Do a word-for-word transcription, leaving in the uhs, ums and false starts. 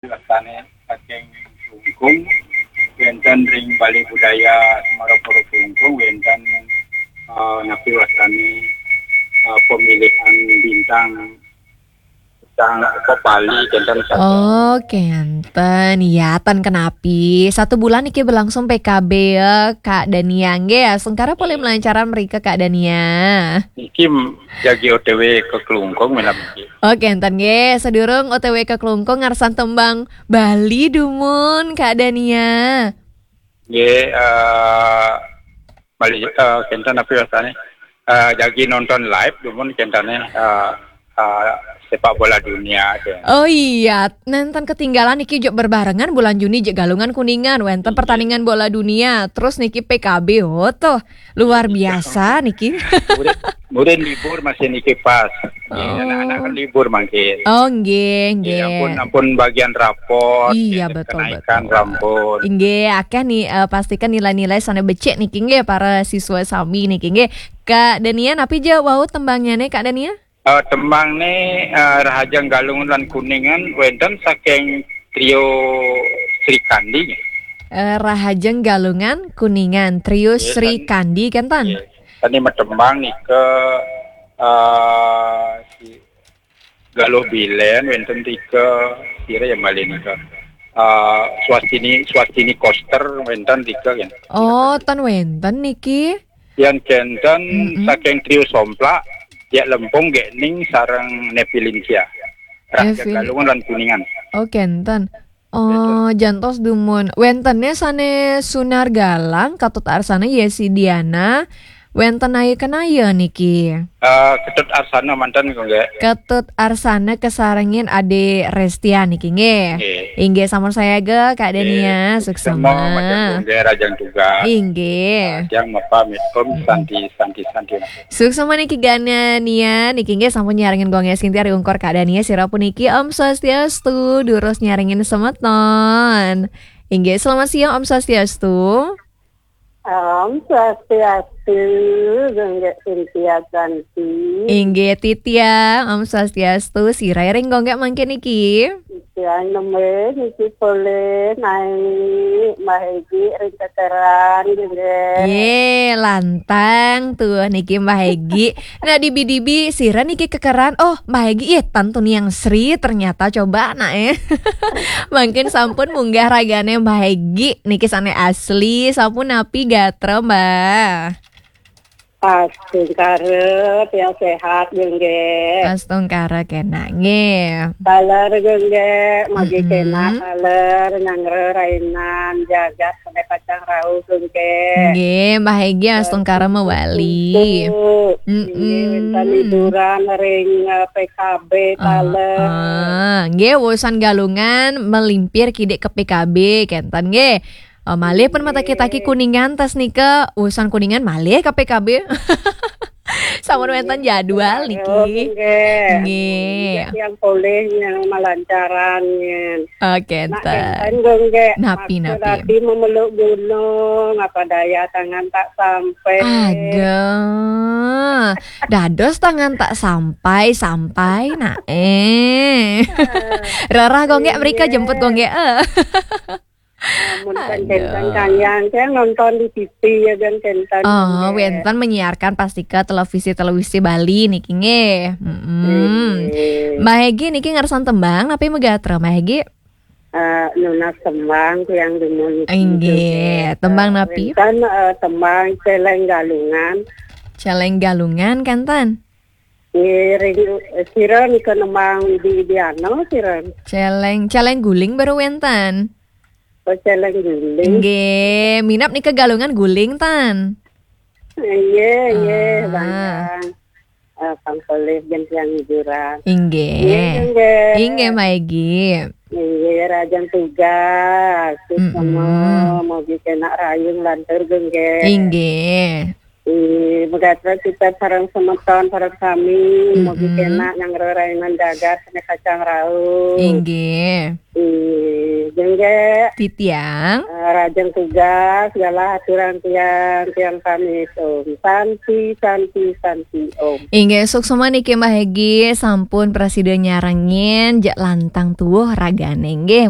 Wastane saking Klungkung, wenten ring Balai Budaya Semarapura Klungkung, wenten, eh, napi wastane, eh, pemilihan bintang, bintang apa, Bali, kenten saja. Oh, kenten. Ya, ten kenapi. Satu bulan niki berlangsung P K B ya, Kak Dania. Nggih, ya, sengkara polih melancaran mrika, Kak Dania. Niki m-, jagi O T W ke Klungkung, minab niki. Oh, kenten nggih. Sadurung O T W ke Klungkung, ngarsan tembang Bali dumun, Kak Dania. Nggih, eh, Bali, eh, kenten napi wastane? Eh, jagi nonton live dumun kentane, eh, eh, sepak bola dunia, kenten. Oh iya, nenten ketinggalan niki, juk berbarengan bulan Juni juk Galungan Kuningan, wenten pertandingan bola dunia, terus niki P K B, oh tuh, luar biasa niki. Murid, murid libur masih niki pas. Nggih, oh, anak-anak kan libur mangkin. Oh, nggih, nggih, nggih. Ampun, ampun bagian rapot, iya, nggih, betul, kenaikan betul. Rampun. Nggih, akeh ni, eh, pastikan nilai-nilai sane becik niki nggih, para siswa sami niki nggih. Kak Dania, napi ja wau tembangnyane, Kak Dania? Eh, tembangne, eh, Rahajeng Galungan lan Kuningan, wenten saking trio Sri Kandi nggih. Eh, Rahajeng Galungan Kuningan, trio Sri Kandi, kenten? Nggih. Tani matembang nika, eh, si Galuh Bilen, wenten tiga, sira ya malih nika. Eh, Swastini, Swastini Koster, wenten tiga, kan? Oh, ten wenten niki. Yan kenten saking trio Somplak, Diak Lempung, Gekning, sareng Nepi Linsia. Rahajeng Galungan lan Kuningan. Oh, kenten. Oh, jantos dumun. Wentene sane Sunar Galang, Katut Arsana, Yesi Diana. Wenten ayu kenaya niki. Eh, Ketut Arsana manten, nggih. Ketut Arsana kesarengin Ade Restia niki, nggih. Nggih. Inggih, sampun sayaga, Kak Dania. Nggih. Suksema. Suksema, majeng nggih, Rahajeng tugas. Inggih. Rahajeng mapamit, Om Santi, Santi, Santi. Suksema niki, Kak Dania, niki nggih sampun nyarengin Gung Gek Sintia ring Ungkur Kak Dania, sira puniki Om Swastiastu, durus nyarengin semeton. Inggih, selamat siang, Om Swastiastu. Om Swastiastu, Gung Gek Sintia Santi. Inggih, titiang, Om Swastiastu, sira ring Gung Gek mangkin niki. Tiang nembé niki polih naik Mbah Egi ring kekeran, nggih. Ye, lantang tuh niki Mbah Egi. Nah, dibi-dibi sira niki kekeran. Oh, Mbah Egi, ih, tan tuni yang Sri ternyata, coba, nah, eh. Mangkin sampun munggah ragane Mbah Egi niki sane asli, sampun napi gatra, Mbah? Astungkara, tiang sehat, nggih. Astungkara kenak, nggih. Taler, nggih, magi kenak, taler, nyanggra rainan, jagat, sampai pacang rauh, nggih. Nggih, Mbah Egi, astungkara mawali. Nggih, wenten hiburan ring, eh, P K B, taler. Ah, nggih, wusan Galungan melimpir kidik ke P K B, kenten, nggih. Oh, malih pun mataki-taki Kuningan tas nika, urusan Kuningan malih ka P K B. Sampun wenten jadwal niki. Nggih. Nggih. Yang polih yang malancaran, nggih. Oke, nak kenten, nggih. Napi, napi? Tadi memeluk gunung, apa daya tangan tak sampai. Aduh. Dados tangan tak sampai, sampai, nak, eh. Rerah, Gung Gek, mrika jemput, Gung Gek, eh. Amun kan kenten, Kang Yang, saya nonton di T V ya, kan, kenten. Oh, wenten menyiarkan pasti ke televisi-televisi Bali niki, nggih. Mm-mm. Nggih. Mbah Egi niki ngersan tembang, napi megatra, Mbah Egi? Eh, nunas tembang, tiang dumun. Inggih, tembang napi? Wenten, eh, tembang Celeng Galungan. Celeng Galungan, kenten? Nggih, ring, eh, sira nika nembang Widi Widiana, sira? Celeng, Celeng Guling baru wenten. Oh, Celeng Guling. Nggih, minab nika Galungan Guling, tan? Nggih, nggih, ah. Bang. Eh, pang polih, jen tiang hiburan. Inggih. Nggih, nggih. Inggih, Mbah Egi. Nggih, rajang tugas. Terus sama, mogi kenak rayung lantur, nggih. Inggih. Nggih, megatra kita sareng semeton, sareng sami, mogi kenak nyanggra rainan jagat, sane kacang rauh. Inggih. Nggih, jeung Nggih, Titiang. eh, rajin tugas, galah aturan tiang, tiang pamit Om. Santi, Santi, Santi Om. Inggih, suksma niki Mbah Egi, sampun prasida nyarengin, jak lantang tuwuh ragane nggih.